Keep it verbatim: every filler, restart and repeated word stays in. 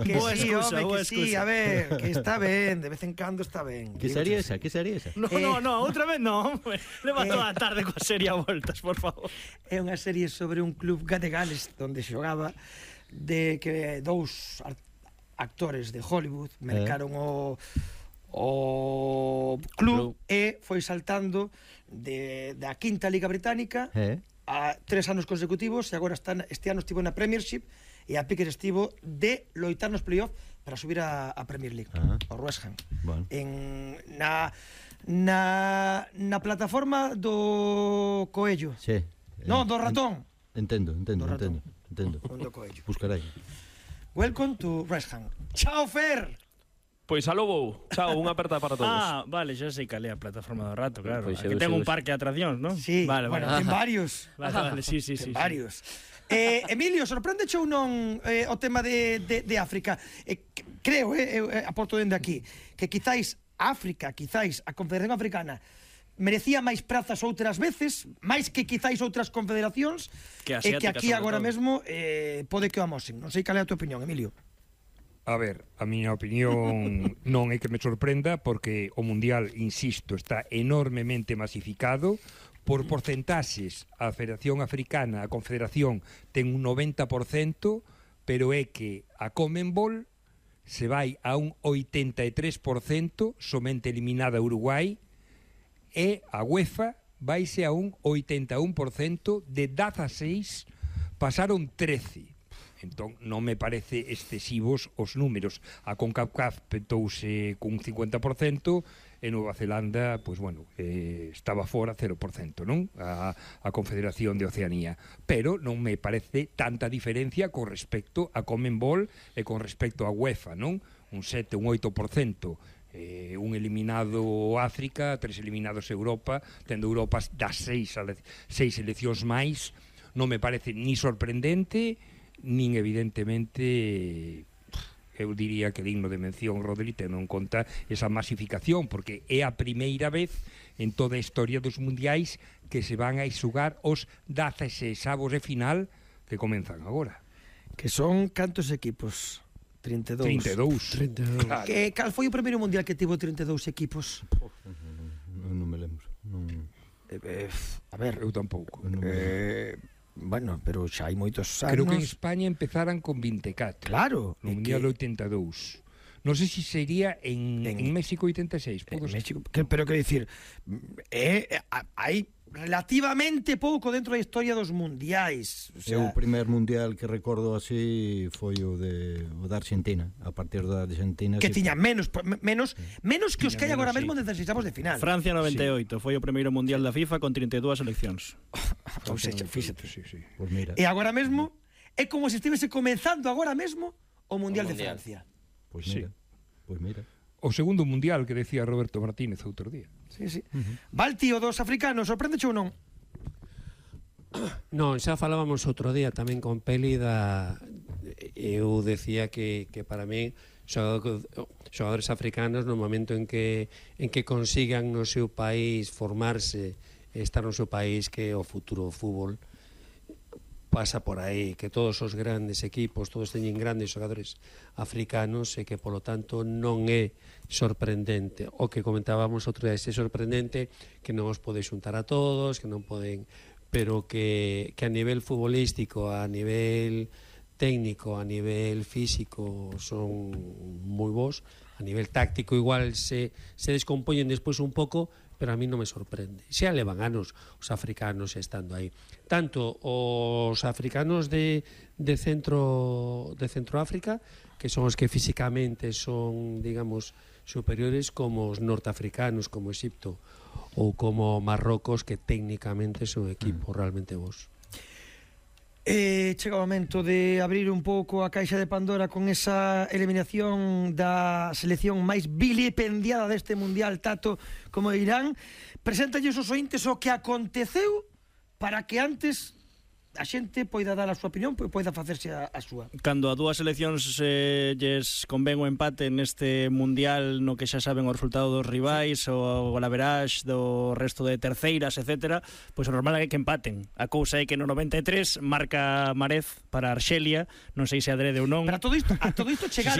Que boa sí, excusa, home, boa que sí, excusa. a ver, que está ben, de vez en cando está ben. Que sería esa? Que sería esa? No, Eh, no, no, outra vez non. Leva eh, toda a tarde coa serie a voltas, por favor. É unha serie sobre un club de Gales onde xogaba de que dous actores de Hollywood mercaron eh. o o club, club e foi saltando de da quinta liga británica eh. a tres anos consecutivos e agora está, este ano estivo na Premiership e a piques estivo de loitar nos playoff para subir a, a Premier League, ah. o West Ham. Bueno. En, na, na, na plataforma do Coello. Sí. No, do ratón. Entendo, entendo, do entendo. entendo. Do Coello. Buscarei. Welcome to West Ham. Chao, Fer! Pois aló vou. Chao, unha aperta para todos. Ah, vale, xa sei cal é a plataforma do rato, claro. Pois que ten un parque de atraccións, non? Sí, vale, bueno, vale. ten varios. Vale, vale, sí, sí, sí. Varios. Eh, Emilio, sorprende ou non eh, o tema de, de, de África? Eh, creo, eh, eh, aporto dende aquí, que quizáis África, quizáis a Confederación Africana merecía máis prazas outras veces, máis que quizáis outras confederacións, que e que aquí agora mesmo eh, pode que o amosen. Non sei cal é a tua opinión, Emilio. A ver, a miña opinión non é que me sorprenda porque o Mundial, insisto, está enormemente masificado. Por porcentaxes, a Federación Africana, a Confederación, ten un noventa por cento, pero é que a Conmebol se vai a un oitenta e tres por cento, somente eliminada Uruguai, e a UEFA vaise a un oitenta e un por cento, de dezaseis pasaron trece. Entón, non me parece excesivos os números. A CONCACAF petouse cun cincuenta por cento e Nova Zelanda, pois bueno, eh, estaba fora cero por cento, non? A, a Confederación de Oceanía. Pero non me parece tanta diferencia con respecto a Conmebol e con respecto a UEFA, non? Un sete, un oito por cento. Eh, un eliminado África, tres eliminados Europa, tendo Europa das seis, seis eleccións máis. Non me parece ni sorprendente nin evidentemente eu diría que digno de mención, Rodri, tendo en conta esa masificación, porque é a primeira vez en toda a historia dos mundiais que se van a xugar os dezasexavos de final que comenzan agora. Que son cantos equipos? trinta e dous. trinta e dous. trinta e dous. Claro. Que, cal foi o primeiro mundial que tivo trinta e dous equipos? Non, non me lembro. Non... Eh, eh, a ver, eu tampouco. Eh... Bueno, pero xa hai moitos anos. Creo que en España empezaran con vinte e catro. Claro. No Mundial que... oitenta e dous. Non sei se sería en, en... en México oitenta e seis. En México, que, pero quero dicir, eh, hai relativamente pouco dentro da historia dos mundiais. O sea, o primer mundial que recordo así foi o de o da Argentina, a partir da Argentina que sí, tiña menos menos menos que os que hai agora mesmo desde os de final. Francia noventa e oito, sí. Foi o primeiro mundial da FIFA con trinta e dúas seleccións. Ou seja, fíxate, sí, sí. Pues mira. E agora mesmo é como se estivese comenzando agora mesmo o mundial, o mundial. de Francia. Pois pues mira. Sí. Pois pues mira. O segundo mundial que decía Roberto Martínez outro día. Sí, sí. Uh-huh. Val, tío, dos africanos, sorpréndeche ou non? Non, xa falábamos outro día tamén con Peli da... Eu decía que, que para mí xogadores africanos no momento en que en que consigan no seu país formarse, estar no seu país, que o futuro do fútbol pasa por aí, que todos os grandes equipos, todos teñen grandes xogadores africanos e que, polo tanto, non é sorprendente. O que comentábamos outro día, é sorprendente que non os pode xuntar a todos, que non poden, pero que, que a nivel futbolístico, a nivel técnico, a nivel físico son moi bons, a nivel táctico igual se, se descompoñen despois un pouco, pero a mí non me sorprende. Xa levan anos os africanos estando aí. Tanto os africanos de, de centro de Centroáfrica, que son os que físicamente son, digamos, superiores, como os norteafricanos, como Egipto, ou como Marrocos, que técnicamente son equipo mm. realmente bons. Eh, chega o momento de abrir un pouco a caixa de Pandora con esa eliminación da selección máis vilipendiada deste mundial, Tato, como Irán. Preséntalles os ointes o que aconteceu para que antes a xente poida dar a súa opinión, poida facerse a, a súa. Cando a dúas seleccións eh, lles convén o empate neste mundial no que xa saben o resultado dos rivais, o golaveraxe do resto de terceiras, etcétera, pois o normal é que empaten. A cousa é que no noventa e tres marca Marez para Arxelia, non sei se adrede ou non. Pero a todo isto, a todo isto chegaron